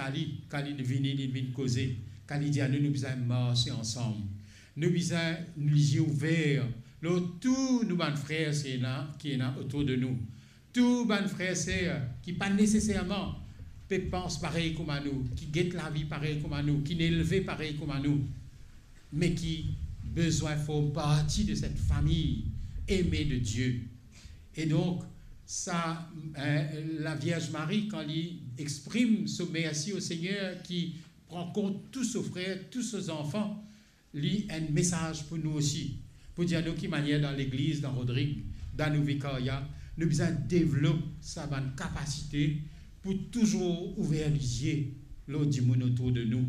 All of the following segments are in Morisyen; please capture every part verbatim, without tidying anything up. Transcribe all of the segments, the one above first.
ali, kan li vini, li vinn koze, kan li dir anou, nou bizin marse ansam. Nou bizin nou lizie ouver lor tou nou bann frer ki ena, ki ena otour de nou. Tou bann frer ser ki pa neseserman pe pans parey kouma nou, ki get lavi parey kouma nou, ki inn elve parey kouma nou, me ki bizin form parti de set fami eme de Die. E donk, sa, eh, Lavierz Mari, kan li exprim so mersi o Segner ki pran kont tou so frer, tou so zanfan, li enn mesaz pou nou osi, pou dir nou ki manier dan legliz, dan Rodrig, dan nou vikarya, nou bizin devlop sa bann kapasite pou touzour ouver lizie lor dimoun otour de nou.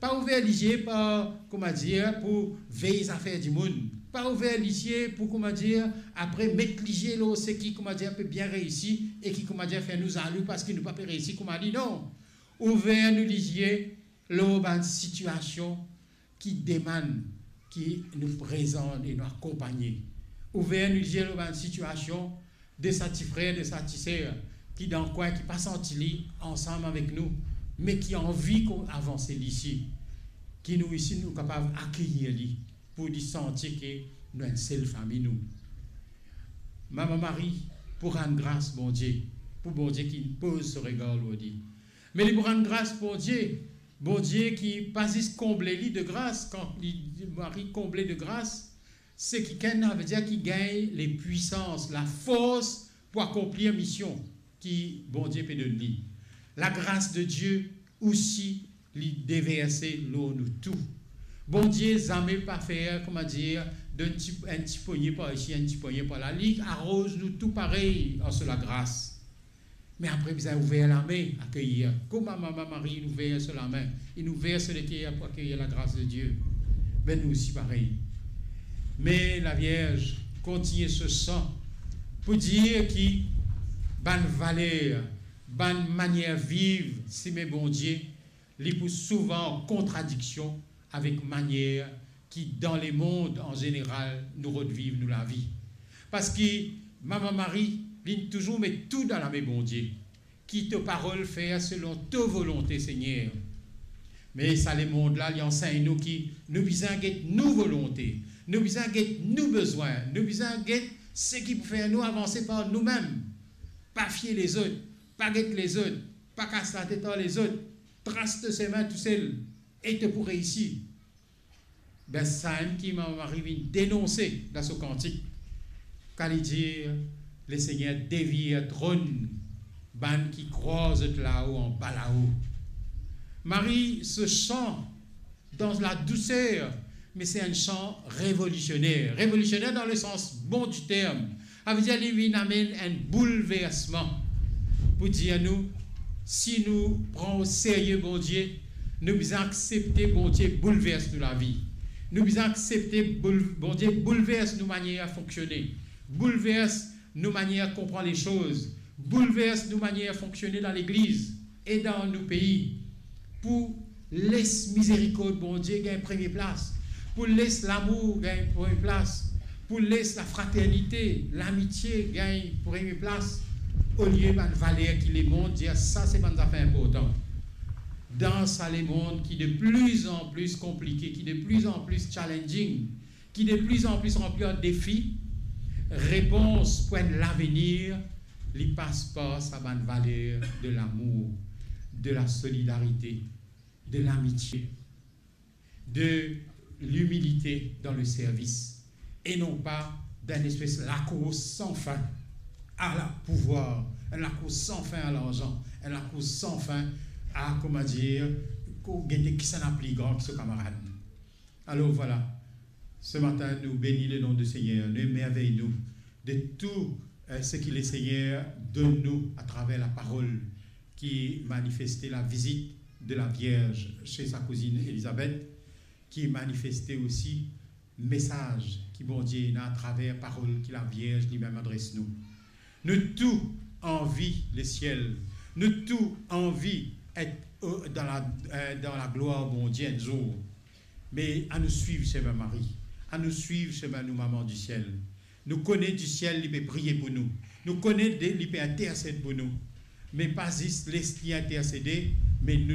Pa ouver lizie par, kouma dir, pou vey zafer dimoun. Pa ouver lizie pou, kouma dir, apre met lizie lor seki, kouma dir, pe bien reisi e ki, kouma dir, fer nou zalou parski nou pa pe reisi kouma li. Non. Ouver nou lizie lor bann sitiasion ki demann ki nou prezan e nou akonpagne. Ouver nou lizie lor bann sitiasion de sa ti frer, de sa ti ser ki dan kwin, ki pa santi li ansam avek nou, me ki anvi kon avanse li isi, ki nou isi nou kapav akeyir li, pou li santi ke nou enn sel fami nou. Mama Mari pou rann gras Bondie, pou Bondie ki poz so regar lor li. Me li pou rann gras Bondie, Bondie ki pa zis konble li de gras, kan li, Mari konble de gras, seki enn, savedir ki gagn lepwisans, lafors pou akonplir mision ki Bondie pe donn li. Lagras de Die osi, li deverse lor nou tou. Bondie zame pa fer, kouma dir, donn ti, enn ti pogne par isi, enn ti pogne par la. Li aroz nou tou parey ar so lagras. Me apre bizin ouver lame, akeyir. Kouma Mama Mari inn ouver so lame, inn ouver so leker pou akeyir lagras de Die, be nou osi parey. Me Lavierz kontigne so san pou dir ki bann valer, bann manier viv sime Bondie, li pou souvan an kontradiksion avek manier ki dan lemond an zeneral nou rod viv nou lavi. Parski Mama Mari, li touzour met tou dan lame Bondie, ki to parol fer selon to volonte, Segner. Me sa lemond la, li ansegn nou ki nou bizin get nou volonte, nou bizin get nou bezwin, nou bizin get seki pou fer nou avanse par noumem. Pa fie lezot, pa get lezot, pa kas latet ar lezot, tras to semin tousel e to pou reisi. Be sa enn ki Mama Mari vinn denonse dan so kantik, kan li dir, Lesegner devir tronn bann ki krwar zot lao anba lao. Mari so san dan ladouser, me se enn san revolisioner. Revolisioner dan lesans bon di term. Savedir li vinn amenn enn boulversman pou dir nou, si nou pran o serye Bondie, nou bizin aksepte Bondie boulvers nou lavi. Nou bizin aksepte boul-, Bondie boulvers nou manier fonksione, boulvers nou manier konpran lesoz, boulvers nou manier fonksione dan legliz e dan nou pei, pou les mizerikord Bondie gagn premie plas, pou les lamour gagn premie plas, pou les lafraternite, lamitie gagn premie plas, olie bann valer ki lemond dir sa se bann zafer inportan. Dan sa lemond ki de pli an pli konplike, ki de pli an pli challenging, ki de pli an pli ranpli ar defi, repons pou enn lavenir, li pas par sa bann valer de lamour, de lasolidarite, de lamitie, de limilite dan leservis, e non pa dan enn espes lakours san fin a lapouvwar, enn lakours san fin a larzan, enn lakours san fin a, kouma dir, kouma gete kisannla pli gran ki so kamarad. Alor vwala, se matin nou beni lenom de Segner, nou emervey nou de tou, eh, seki Lesegner donn nou atraver laparol ki manifeste lavizit de Lavierz se sa kouzinn Elizabet, ki manifeste osi mesaz ki Bondie ena atraver parol ki Lavierz limem adres nou. Nou tou anvi lesiel, nou tou anvi et, eh, dan la, eh, dan laglwar Bondie enn zour. Me anou swiv semin Mari, anou swiv semin nou Mama disiel. Nou kone disiel li pe priye pou nou, nou kone de, li pe intersed pou nou. Me pa zis les li intersede, me nou,